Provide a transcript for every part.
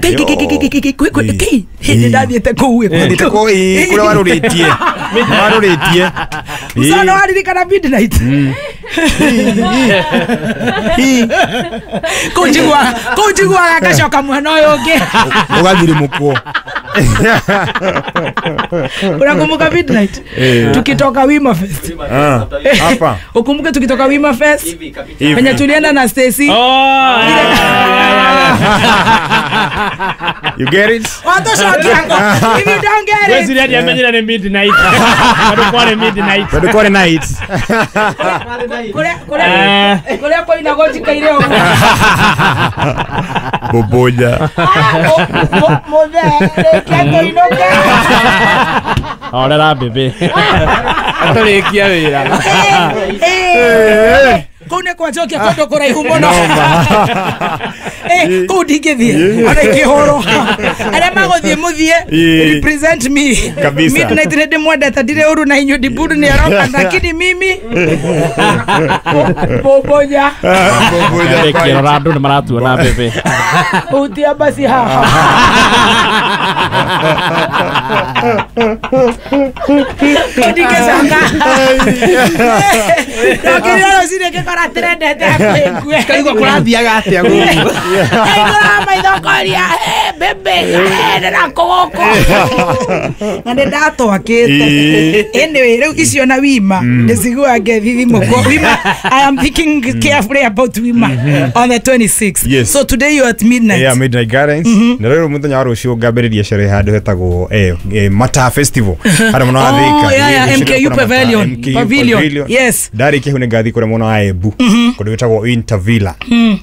Kei hĩndĩ ndathiĩte kũu ĩ kũrĩa warũrĩtie warũrĩtie Usano waririkana midnight kũu njiguaga ngacoka mwena ũyũ ũngĩ ũgathirimũkwo. Unakumbuka midnight tukitoka Wima Fest? Hapa ukumbuke tukitoka Wima Fest penye tulienda na Stacy. You get it? If you don't get it. Wewe hadi amenyera ni midnight. Bado kwa midnight. Bado kwa night. Kule kwa inagoji kaire huko. Boboja. Mothe, kendo inoke. Orera bebe. Atarikia wira. Kuu nĩ kwanjokia kũndũ kũraihu mũno. Kũu ndingĩthiĩ ona ingĩhũrwo. Arĩa magũthiĩ mũthiĩ represent me. Midnight nĩ ndĩmwendete ndirĩ ũru na inyuĩ ndiburu nĩ aroka lakini mimi bobonya. Bobonya. Kĩrora andũ nĩ maratuona bebe. Hutia basi haha. Kũu ndingĩcoka. Ndokĩrire rũcinĩ ngĩkora trendete hakuhĩ ngue. Kaigua kũrathiaga atĩa gũkũ? Kaigua maitho ngoria bebe ndĩrakũgũkũ. Na nĩ ndatwakĩte. Anyway, rĩu icio na Wima ndĩciguaga ngethithimũkwo. Wima, I am thinking carefully about Wima on the 26th. Yes. So today you are at midnight. Yeah, Midnight Gardens. Na rĩu mũthenya wa rũciũ ngambĩrĩria sherehe handũ hetagwo Mata Festival. Harĩa mũno wa Thika. Oh, yeah, MKU Pavilion. Pavilion. Yes. Ndarĩkia hau nĩngathiĩ kũrĩa mwena wa Embu. Kũndũ gwĩtagwo Winter Villa.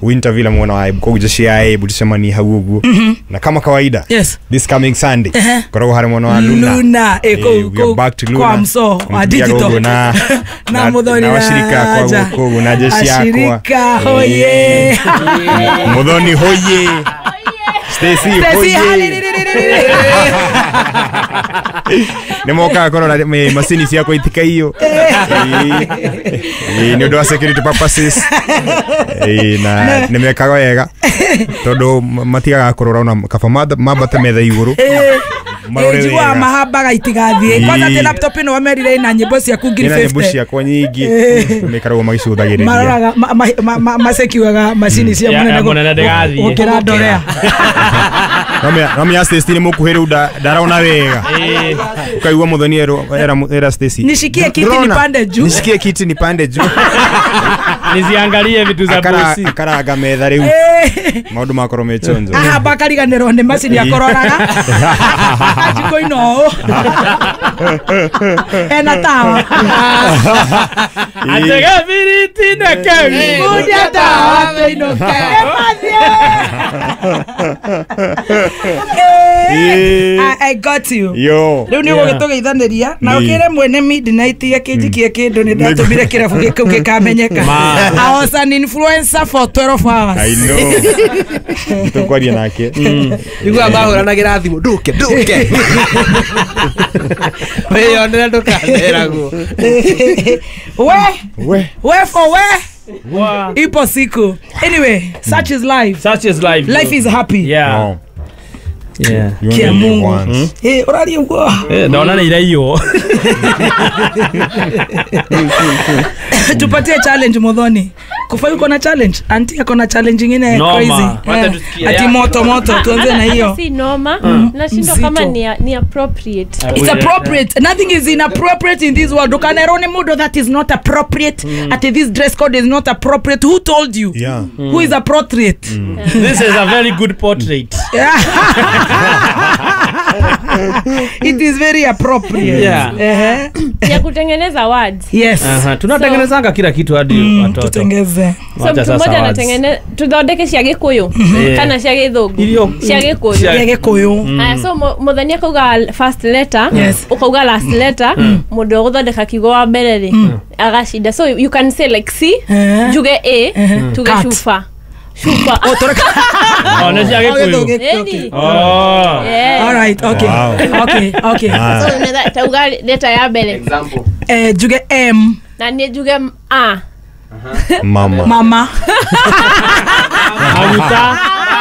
Winter Villa mwena wa Embu. Koguo jeshi ya Embu tucemanie hau ũguo. Na kama kawaida. Yes. This coming Sunday. Koragwo harĩa mwena wa Luna. Luna. We are back to Luna. Kwa mso wa digital. Na na Muthoni na washirika akwa gũkũ na jeshi yakwa. Ashirika hoye. Muthoni hoye. Stacy hoye. Nĩ mokaga kũrora macini ciakwa itikaiyo. Nĩ ũndũ wa security purposes. Na nĩ mekaga wega tondũ matigaga kũrora ona kaba mambate metha igũrũ. Njiguaga mahambaga itigathiĩ. Kwanza atĩ laptop ĩno wamerire ĩna nyĩmbo ciaku ngiri Ĩna nyĩmbo 50. ciakwa nyingĩ maikaragwo magĩcũthagĩrĩria. Maroraga masekiuaga macini cia mũnene gũkĩra ndorea. No menya Stacy nĩ mũkuhĩ rĩu ndarona wega. Ukaigua Muthoni era Stacy. Nishikie kiti nipande juu. Nishikie kiti nipande juu. Nisiangalie vitu za bosi. Akaraga metha rĩu. Maũndũ makorwo me chonjo. Ahamba akariganĩrwo nĩ macini akororaga. Ajiko ino. Ena tawa. Atega biriti na kewi. Mundia tawa inoke. I got you. Yo. Rĩu nĩ ũgũgĩtũgeithanĩria na ũkĩre mwene midnight akĩnjikie kĩndũ nĩ ndatũmire kĩrabu gĩkĩu gĩkamenyeka. I was an influencer for 12 hours. I know. Tũkwaria nake. Niguo mahũranagĩra thimũ ndũke ndũke. Wĩyonere ndũkaneragwo. We for we. Ipo siku. Anyway, such is life. Such is life. Life is happy. Yeah. No. Yeah. Kia Mungu. Ũraria ũguo. Ndona nĩ iraiywo. Tupatie challenge Muthoni. Kufa yuko na challenge. Auntie ako na challenge nyingine crazy. Ati moto moto tuanze na hiyo. Si noma. Nashindwa kama ni appropriate. It's appropriate. Nothing is inappropriate in this world. Ukanerone mudo that is not appropriate. Ati this dress code is not appropriate. Who told you? Yeah. Who is appropriate? This is a very good portrait. It is very appropriate. Yeah. Ya kutengeneza words. Yes. Tunatengenezanga kila kitu hadi watoto. Tutengeze. So mtu mmoja anatengeneza tuthondeke cia Gikuyu kana cia Githungu. Cia Gikuyu. Cia Gikuyu. Aya, so Muthoni akauga first letter, ukauga last letter, mundu uguthondeka kiugo wa mbere ri agashinda. So you can say like C, njuge A, tuge cuba. Chupa. Oh, toreka. Oh, nĩ cia Gikuyu. Oh. All right, okay. Okay, okay. So unaweza tauga letter ya mbere. Example. Njuge M. Na ni njuge A. Mama. Mama. Maguta.